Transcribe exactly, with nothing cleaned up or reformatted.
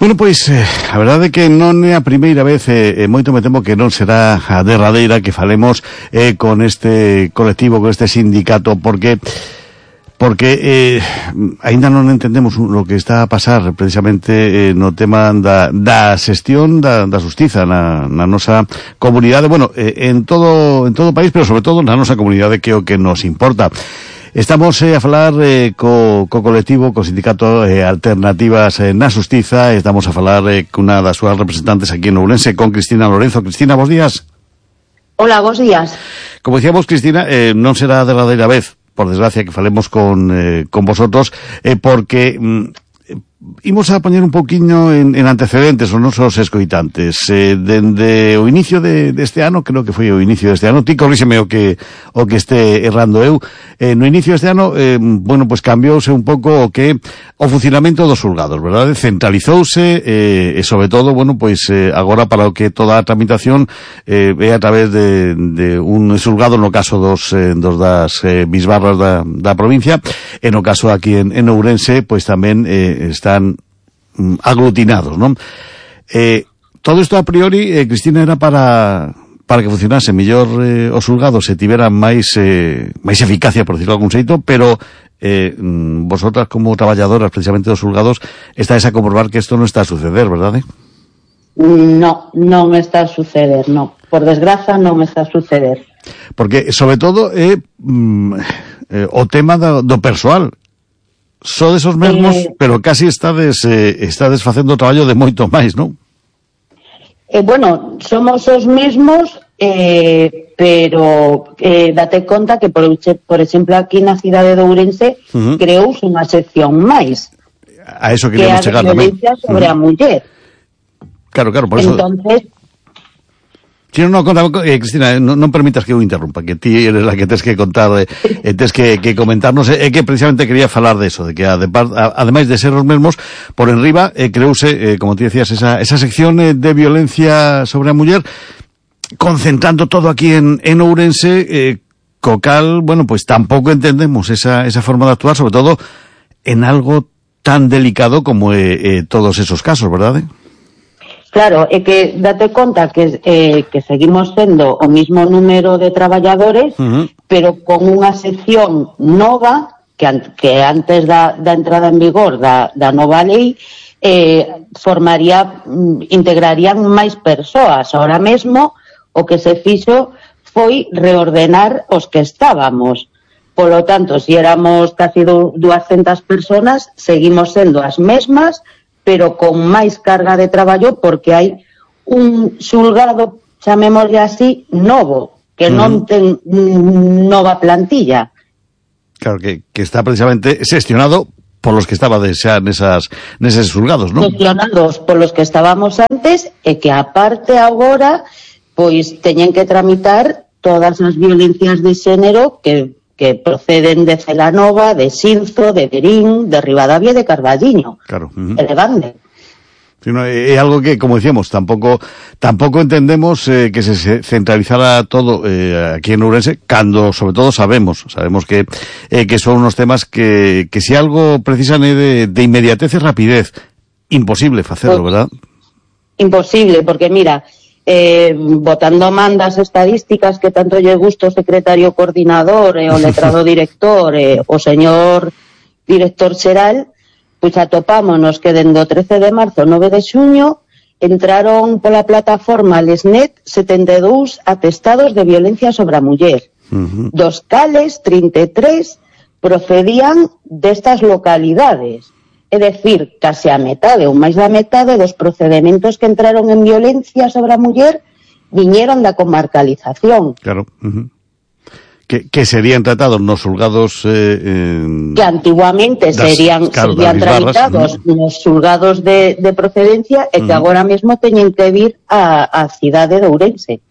Bueno, pois, eh, a verdade é que non é a primeira vez, e eh, moito me temo que non será a derradeira que falemos eh, con este colectivo, con este sindicato, porque porque eh, aínda non entendemos o que está a pasar precisamente eh, no tema da, da xestión da, da xustiza na, na nosa comunidade, bueno, eh, en todo en todo o país, pero sobre todo na nosa comunidade, que é o que nos importa. Estamos eh, a falar eh, co, co colectivo, co sindicato eh, Alternativas eh, na Xustiza. Estamos a falar eh, cunha das súas representantes aquí en Ourense, con Cristina Lorenzo. Cristina, bos días. Hola, bos días. Como decíamos, Cristina, eh, non será a derradeira vez, por desgracia, que falemos con, eh, con vosotros, eh, porque mm, imos a poñer un pouquiño en, en antecedentes os nosos escoitantes. Eh, dende o inicio de, deste ano, creo que foi o inicio deste ano, ti corríxeme o que o que este errando eu, eh, no inicio deste ano, eh, bueno, pues cambiouse un pouco o que o funcionamento dos xulgados, verdade? Centralizouse, eh, e sobre todo, bueno, pois eh, agora para o que toda a tramitación eh, é a través de, de un xulgado, no caso dos, eh, dos das eh, bisbarras da, da provincia, e no caso aquí en, en Ourense, pois tamén eh, están mm, aglutinados, non? Eh, todo isto a priori, eh, Cristina, era para para que funcionase mellor eh, os xulgados se tiveran máis eh, máis eficacia, por decirlo de algún xeito, pero eh, vosotras como traballadoras precisamente dos xulgados estáis a comprobar que isto non está a suceder, verdade? No, non está a suceder, no. Por desgraza non está a suceder. Porque, sobre todo, é eh, mm, eh, o tema do, do persoal. Sodes os mesmos, eh, pero casi estades, eh, estades facendo o traballo de moito máis, non? Eh, bueno, somos os mesmos, eh, pero eh, date conta que, por, por exemplo, aquí na cidade de Ourense, uh-huh, creouse unha sección máis. A eso queríamos que chegar tamén. Que a violencia sobre uh-huh. a muller. Claro, claro, por eso... Entonces... Si no, no, conta, eh, Cristina, non, non permitas que eu interrumpa, que ti eres la que tes que contar, eh, eh, tes que, que comentarnos, é eh, que precisamente quería falar de eso, de que además, ademais de ser os mesmos, por enriba, eh, creouse, eh, como ti decías, esa, esa sección eh, de violencia sobre a muller, concentrando todo aquí en, en Ourense, eh, co cal, bueno, pues tampouco entendemos esa, esa forma de actuar, sobre todo en algo tan delicado como eh, eh, todos esos casos, verdade? Claro, é que date conta que, eh, que seguimos sendo o mismo número de traballadores, uh-huh, pero con unha sección nova, que, an que antes da, da entrada en vigor da, da nova lei, eh, formaría, integrarían máis persoas. Ahora mesmo, o que se fixo foi reordenar os que estábamos. Polo tanto, se éramos casi duascentas personas, seguimos sendo as mesmas, pero con máis carga de traballo, porque hai un xulgado, chamémoslle así, novo, que mm. non ten nova plantilla. Claro, que, que está precisamente xestionado por los que estaba xa nesas, neses xulgados, non? Xestionados por los que estábamos antes, e que aparte agora, pois, teñen que tramitar todas as violencias de xénero que que proceden de Celanova, de Xinzo, de Verín, de Ribadavia e de Carballiño. Claro. Uh-huh. E de Bande. Sí, no, é algo que, como decíamos, tampouco tampouco entendemos eh, que se centralizara todo eh, aquí en Ourense, cando, sobre todo, sabemos sabemos que eh, que son unos temas que, que si algo precisan é de, de inmediatez e rapidez. Imposible facerlo, ¿verdad? Imposible, porque mira... Eh, botando mandas estadísticas que tanto lle gusta o secretario coordinador e eh, o letrado director e eh, o señor director xeral, pois atopámonos que dende o trece de marzo ao nove de xuño entraron pola plataforma Lesnet setenta e dous atestados de violencia sobre a muller, uh-huh, dos cales trinta e tres procedían destas localidades. É dicir, case a metade ou máis da metade dos procedementos que entraron en violencia sobre a muller viñeron da comarcalización. Claro. Uh-huh. Que, que serían tratados nos xulgados... Eh, eh, que antiguamente das, serían, claro, serían tramitados uh-huh, nos xulgados de, de procedencia e que uh-huh, agora mesmo teñen que vir a, a cidade de Ourense.